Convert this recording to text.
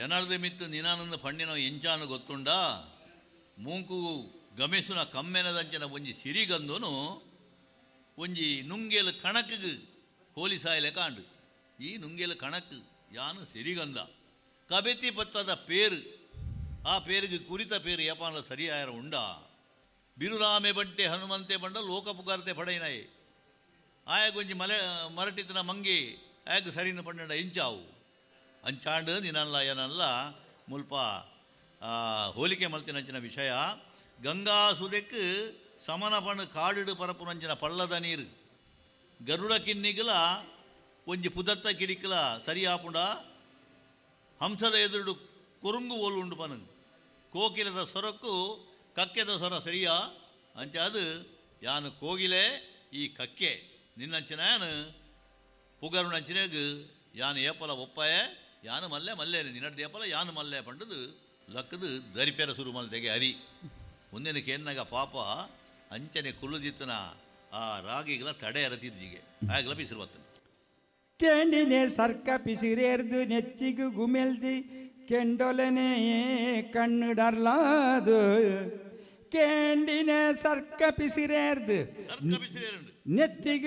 ಎನರ್ದ ಮಿತ್ತು ನಿನಾನಂದ ಪಣ್ಣಿನ ಎಂಚಾನು ಗೊತ್ತುಂಡಾ? ಮೂಂಕು ಗಮೆಸುನ ಕಮ್ಮೆನದಂಚಿನ ಒಂಜಿ ಸಿರಿಗಂಧನು ಒಂಜಿ ನುಂಗೇಲು ಕಣಕ್ಗ್ ಹೋಲಿಸಾಯಲೆ ಕಾಂಡು. ಈ ನುಂಗೇಲು ಕಣಕ್ ಯಾನು ಸಿರಿಗಂಧ ಕಬೆತಿ ಪತ್ತದ ಪೇರು, ಆ ಪೇರಿಗೆ ಕುರಿತ ಪೇರು ಯಪಾನಲ ಸರಿಯಾಯರ ಉಂಡಾ? ಬಿರುರಾಮೆ ಬಂಟೆ ಹನುಮಂತೆ ಬಂಡ ಲೋಕ ಪುಗಾರ್ತೆ ಪಡೈನಾಯೆ ಆಯಗೊಂಜಿ ಮಲೆ ಮರಟಿತನ ಮಂಗೆ ಆಯಗ ಸರಿನ ಪಂಡ ಎಂಚಾವು ಅಂಚಾಂಡು ನಿನಲ್ಲ ಏನಲ್ಲ ಮುಲ್ಪ ಹೋಲಿಕೆ ಮಲ್ತಿನಂಚಿನ ವಿಷಯ. ಗಂಗಾ ಸುದೆಕ್ ಸಮನ ಪಣ್ಣು ಕಾಡಿಡು ಪರಪುನಂಚಿನ ಪಳ್ಳದ ನೀರು ಗರುಡ ಕಿನ್ನಿಗಲ ಒಂಜಿ ಪುದತ್ತ ಕಿಡಿಕಲ ಸರಿಯಾಪುಂಡ ಹಂಸದ ಎದುರುಡು ಕೊರುಂಗು ಓಲು ಉಂಡು ಪನ ಕೋಕಿಲದ ಸೊರಕ್ಕು ಕಕ್ಕೆದ ಸೊರ ಸರಿಯಾ ಅಂಚಾದು ಯಾನು ಕೋಗಿಲೆ ಈ ಕಕ್ಕೆ ನಿನ್ನಂಚಿನ ಯಾನು ಪುಗರುನಂಚಿನಾಗ ಯಾನು ಏಪಲ ಒಪ್ಪಾಯ ಯಾನು ಮಲ್ಲೆ ಮಲ್ಲೆ ನಿನ್ನಡ್ದು ಏಪಲ ಯಾನು ಮಲ್ಲೆ ಪಂಡದು ಲಕ್ಕದು ದರಿಪೆರ ಸುರು ಮಲ್ತೆಗೆ ಅರಿ ಒಂದಿನ ಕೇನ್ನಾಗ ಪಾಪ ಅಂಚನೆ ಕುಲ್ಲುದಿತ್ತನ ಆ ರಾಗಿಗಳ ತಡೆ ಅರತಿದ್ಜಿಗೆ ಆಗಲ ಬಿಸಿರು ಬತ್ತನ. ಕೆಂಡಿನೆ ಸರ್ಕ ಪಿಸಿರೇರ್ದು ನೆತ್ತಿಗು ಗುಮೆಲ್ದಿ ಕೆಂಡೊಲನೆ ಕಣ್ಣು ಡರ್ಲಾದು ಕೇಂಡಿನ ಸರ್ಕ ಪಿಸಿರೇರ್ದು ಸರ್ಕ ಬಿಸಿರೇರುಂಡು ನೆತ್ತಿಗು.